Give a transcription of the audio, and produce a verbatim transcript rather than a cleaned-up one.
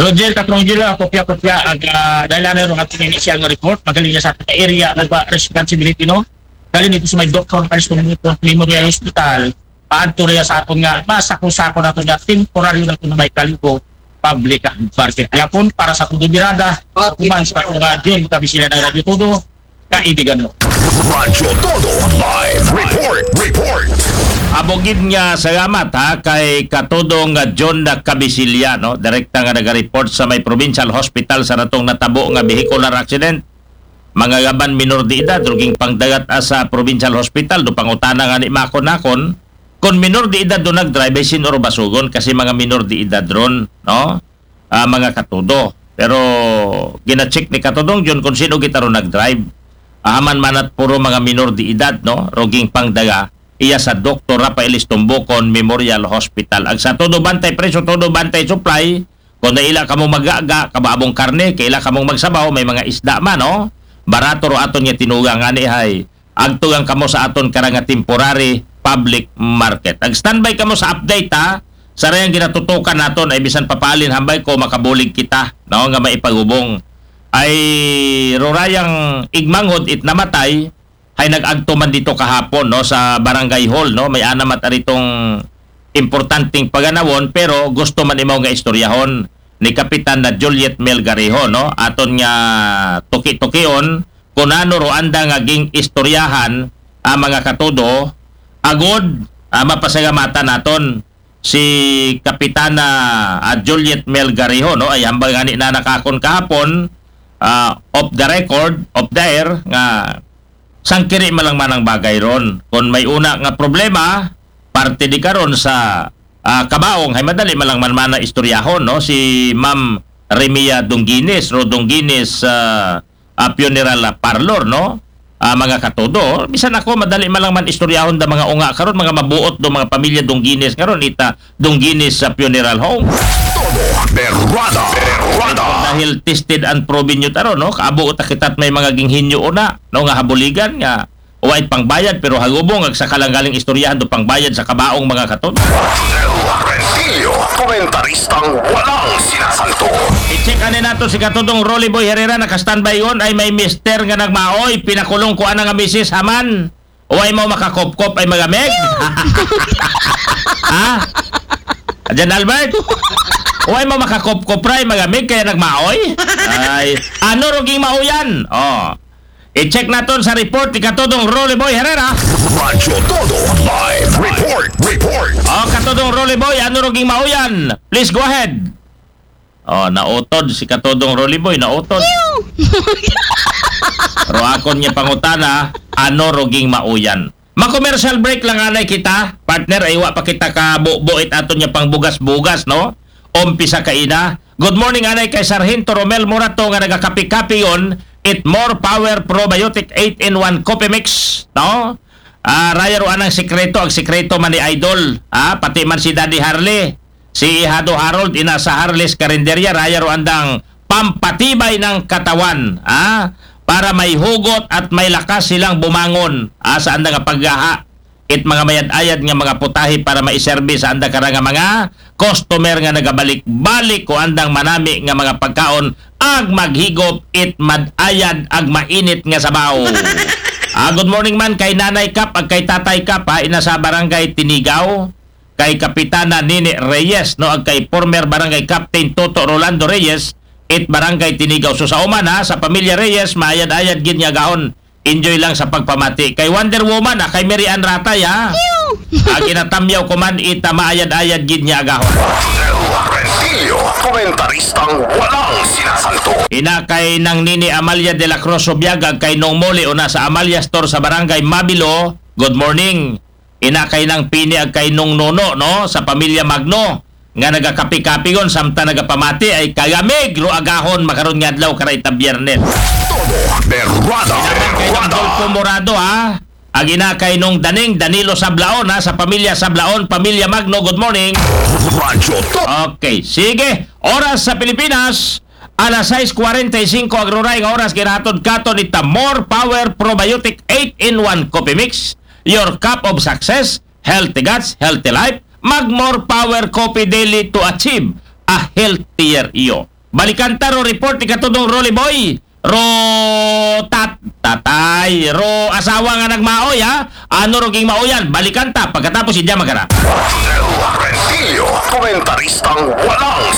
Roger Katrongila, kopya-kopya, ag, ah, dahil ano yung ating initial nga report, magaling niya sa ating area, ano ba, responsibility, no? Galing dito sa may Doktor Aris Comunito Memorial Hospital, paadto rin sa aton nga, masako-sako na ito nga, temporary na ito na may Kalibo Public Market. Kaya po, para sa Tudo Birada, kuman sa aton nga, Jun, kami sila ng Radyo Tudo, kaibigan mo. Radyo Todo Live Report. Report. Abogid nga salamat ha kay Katudong nga John da Cabisilla, no? Direkta nga naga-report sa may provincial hospital sa natong natabo nga vehicular accident. Mga gaban minor de edad, ruging pangdagat sa provincial hospital, do pangutana nga ni makon-nakon, kung minor de edad do nag-drive, ay sinuro basugon kasi mga minor de edad ron, no? Ah, mga katudo. Pero gina-check ni Katudong John kung sino gitaro nag-drive. Ahaman manat puro mga minor de edad, no? Ruging pangdaga, iya sa Doktor Rafael Estumbukon Memorial Hospital. Ag sa todo bantay presyo, todo bantay supply, kung naila kamo magaga, kabaabong karne, kaila kamong magsabaw, may mga isda man, no? Barato ro aton nga tinugang ani hay. Agtugang kamo sa aton karang nga temporary public market. Ag standby kamo sa update ha. Sa rayang ginatutukan naton ay bisan papalin hambay ko makabulig kita, no, nga maipagubong. Ay rurayang igmanghod it namatay, hay nag-agto man dito kahapon, no, sa barangay hall, no, may anamat aritong importanteng paganawon pero gusto man imaw nga istoryahon ni Kapitan na Juliet Melgarejo, no, aton nga tuki-tukion kunano ro anda nga ging istoryahan ang mga katudo agod ah, mapasalamatan naton si Kapitana ah, Juliet Melgarejo, no, ay hambal nga ni na nakakon kahapon ah, off the record, off the air nga sangkiri malang manang bagay ron. Kung may una nga problema, parte di karon sa ah, kabaong hay madali malang man mana istoryahon, no, si Ma'am Remia Dungginis, Ro Dungginis ah, ah, funeral ah, parlor, no? Ah, mga katudo, bisan ako madali malang man istoryahon da mga unga karon, mga mabuot do mga pamilya Dungginis karon ita Dungginis sa funeral home. Todo Berrada. Berrada. Dahil tested and proven yun taro, no? Kaabo uta kita't may mga ginghinyo una, no, nga habuligan nga wait pangbayad pero hagubong ag sa kalanggaling istoryahan do pangbayad sa kabaong mga katon. Rentillo, komentaristang walang sinasanto. I-check ani nato si Katudong Rolly Boy Herrera naka-standby yon ay may mister nga nagmaoy pinakulong ko ana nga misis haman. Way mo makakopkop ay magamig. Ha? Jan Albert? Way mo makakopkop ray magamig kaya nagmaoy? Ay, ano ruging mauyan? Oh. I-check naton sa report ni Katudong Rolly Boy Herrera. Radyo Todo Live Report. Report. Oh, Katudong Rolly Boy, ano ruging mauyan? Please go ahead. Oh, nautod si Katudong Rolly Boy, nautod. Pero akon niya pangutana, ano ruging mauyan? Ma-commercial break lang anay kita, partner, ay wa pa kita ka bubuit aton niya pang bugas-bugas, no? Umpisa kaina. Good morning anay kay Sargento Romel Morato nga nagakapi-kapi yon. It More Power Probiotic eight in one Coffee Mix, no? Ah, raya ro anang sikreto, ang sikreto man ni Idol, ah, pati man si Daddy Harley, si Ihado Harold, ina sa Harley's Karinderya, raya ro andang pampatibay ng katawan, ah, para may hugot at may lakas silang bumangon, ah, sa andang paggaha. It mga mayad-ayad nga mga putahe para maiserbi sa anda kara nga mga customer nga nagabalik-balik ko andang manami nga mga pagkaon ag maghigop it mad-ayad ag mainit nga sabaw. Ah, good morning man kay Nanay Kap ag kay Tatay Kap ha, ina sa Barangay Tinigaw, kay Kapitana Nini Reyes, no, ag kay former Barangay Captain Toto Rolando Reyes, it Barangay Tinigaw. So sa uman ha, sa pamilya Reyes, maayad-ayad gid nga gahon. Enjoy lang sa pagpamati. Kay Wonder Woman, ah, kay Mary Ann Ratay, ha? Ah, ginatamyaw ko man, ita maayad-ayad gid niya agahon. Rentillo, komentaristang walang sinasanto. Ina kay Nang Nini Amalia de la Cruz Subiaga, kay Nong Moli, una sa Amalia Store sa Barangay Mabilo. Good morning. Ina kay Nang Pini ag kay Nong Nono, no? Sa pamilya Magno. Nga nagakapi-kapi gon, samtang nagapamati ay kagamig ro agahon makaron nga adlaw karay ta Biyernes. Todo Berrada. Ina kay Nong Berrada. Dolfo Morado, ha? Ag ina kay Nong Daning Danilo Sablaon, ha? Sa pamilya Sablaon, pamilya Magno, good morning. Radyo To. Okay, sige. Oras sa Pilipinas, alas sais kwarenta y singko ag ruray nga oras ginahatod katon ita More Power Probiotic eight in one Coffee Mix, your cup of success, healthy guts, healthy life, mag More Power Coffee Daily to achieve a healthier you. Balikan ta ro report ni katudong Rolly Boy. Ro tat-, tatay. Ro asawa nga nagmaoy, ha? Ano ro king maoyan? Balikan ta pagkatapos idya magara. Rodel Rentillo, komentaristang walang